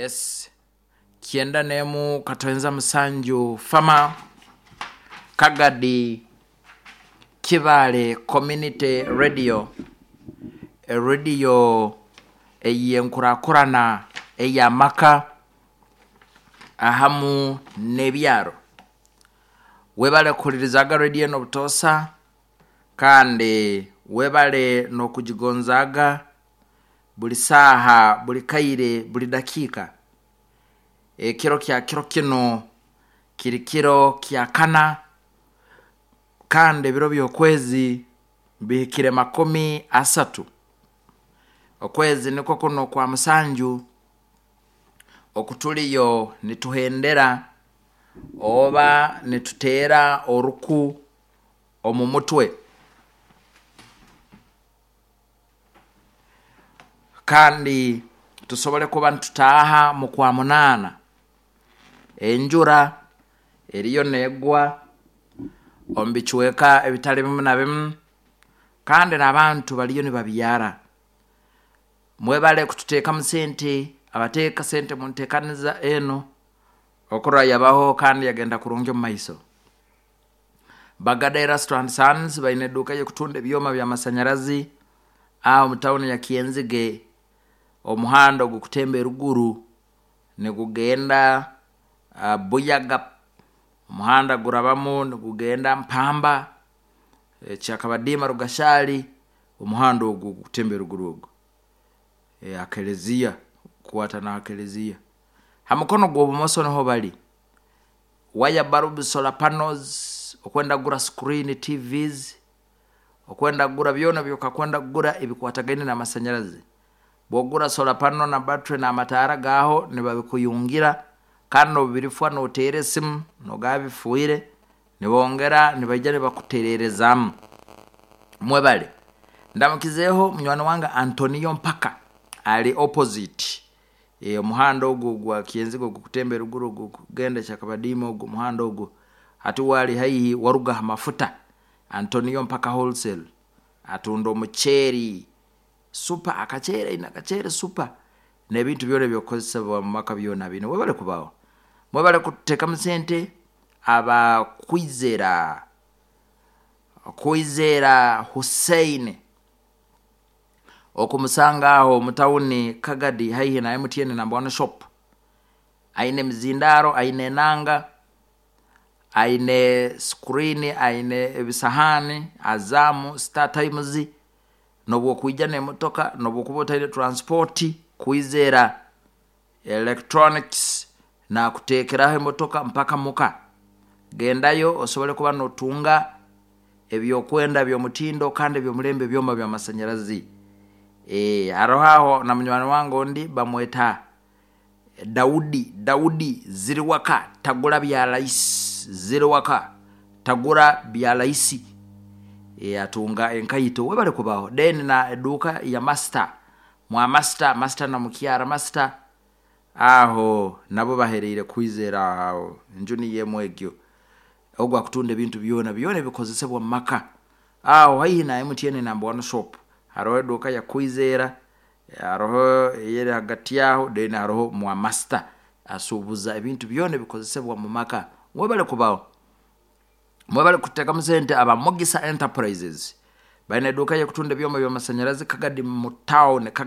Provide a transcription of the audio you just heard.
Yes, 91.7 Fama Kagadi Kibaale Community Radio, erediyo ey'enkurakurana ey'amaka ahamu n'ebyaro. Webale kuhulirizaga rediyo eno obutoosa kandi webale n'okugigonzaaga buli saaha, buli kaire, buli dakiika. Ekiro kya kiro kinu kiri kiro kya kana kandi ebiro by'okwezi bihikire 30. Okwezi nikwo kuno okwa musanju okutuliyo nituhendera oba nituteera oruku omu mutwe. Kandi tusobole kuba nitutaaha mu kwa munaana. Enjura eriyo neegwa omu bicweka ebitali bimu na bimu kandi n'abantu bariyo nibabyara. Mwebale kututeekamu sente, abateeka sente mu nteekaniza enu okurora yabaho kandi yagenda kurungi omu maiso. Bagada Erasto and Sons baine eduuka y'okutunda ebyoma by'amasanyarazi aha omu tawuni ya Kyenzige. Omuhanda ogukutemba eruguru nigugenda Buyaga, omuhanda gurabamu nigugenda Mpamba, Kyakabadiima Rugashaali, omuhanda ogwo ogukutemba eruguru ogwo. Aha kereziya, kukwata n'aha kereziya. Ha mukono gw'obumoso niho bari. Wire bulbs, solar panels, okwenda kugura screen TVs, okwenda kugura byona ebyokakwenda kugura ebikwatagaine n'amasanyarazi. Bw'ogura solar panel na battery n'amataara gaaho nibabikuyungira kandi n'obu birifwa nooteera esimu noogaba bifiire nibongera nibaija nibakutereerezaamu. Mwebale. Ndamukizeeho munywani wange Antonio Mpaka ari opposite omuhanda ogwo ogwa Kyenzige ogukutemba eruguru ogukugenda Kyakabadiima ogwo omuhanda ogwo hati we ari haihi waruga aha mafuta Antonio Mpaka Wholesale atunda omuceeri super akaceere aine akaceere super n'ebintu byona eby'okukozesebwa omu maka byona abiine. Webale kubaho. Mwebale kututeekamu sente aba Kwizera Kwizera Hussein okumusanga aho omu tawuni Kagadi haihi na MTN number one shop. Aine emizindaaro, aine enanga, aine screen, aine ebisahaani, Azam, Star Times, n'obu okwija n'emotoka, n'obu okuba otaine transport, Kwizera Electronics nakuteekeraho emotoka mpaka muka. Gendayo osobole kuba notunga ebyokwenda by'omutindo kandi eby'omulembe ebyoma by'amasanyarazi. Hariho aho na munywani wange ondi bamweta Daudi, Daudi Ziriwaka tagura bya raisi, Ziriwaka tagura bya raisi. Atunga enkaito webale kubaho. Then na eduuka ya Master, mwa Master, Master na mukyara Master aho nabo bahereire Kwizera aho enju niyo emwe egyo. Ogu akutunda ebintu byona byona ebikozesebwa omu maka. Aho haihi na MTN number one shop hariho eduuka ya Kwizera, hariho eyeri ahagati aho then hariho mwa Master asuubuza ebintu byona ebikozesebwa omu maka. Mwebale kubaho. Mwebale kuteekamu sente aba Mugisa Enterprises. Baine eduuka y'okutunda ebyoma by'amasanyarazi Kagadi mu town.